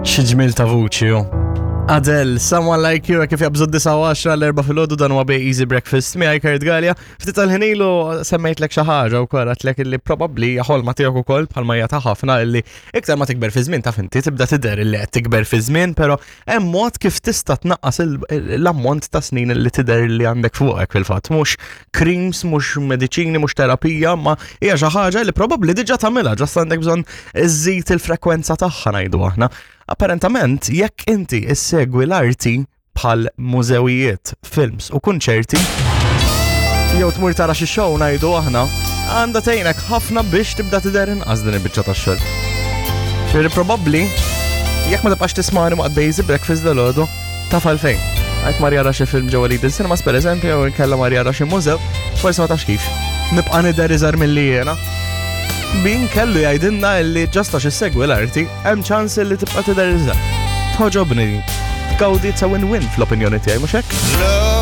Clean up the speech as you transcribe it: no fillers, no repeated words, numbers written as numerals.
Xi ġmiel ta' vuċi hu. Adele, Someone Like You, kif jabżu 9 l-erba filgħodu dan huwa Bay Easy Breakfast miegħi Kurt Gallia. Ftit tal-ħin ilu semmejtlek xi ħaġa wkoll għedtlek illi probabbli hija ħolma tiegħek ukoll bħalma hija ta' ħafna illi iktar ma tikber fi żmien taf inti tibda tidher illi qed tikber fi żmien, però hemm mod kif tista' tnaqqas l-ammont ta' snin li tidher li għandek fuqek fil-fatt. Mhux creams, mhux mediċini, mhux terapija, ma hija xi ħaġa li probabbli diġà tagħmilha, ġast għandek bżonn iżżid il-frekwenza tagħha ngħidu aħna. Apparentament, jekk inti issegwi l-arti bħal mużewijiet, films u kunċerti, jew tmur tara xi show ngħidu aħna, għandha tgħinek ħafna biex tibda tidher inqas din il-biċċa tax-xogħol. Ġifieri probabbli jekk ma tibqax tismani waqt Basic Breakfast dal-għodu, taf għalfejn. Għajt mar jara xi film ġewwa Lidl Cinemas pereżempju, jew inkella mar jara xi mużew, forsi ma tafx kif. Nibqa' nidher iżgħar milli jiena. Min kellu jgħidilna li ġasta xi segwi l-arti, hemm ċans li tibqa' tidher iżgħar. Tħoġobni. Tgawdi it's a win-win fl-opinjoni tiegħi, mhux hekk?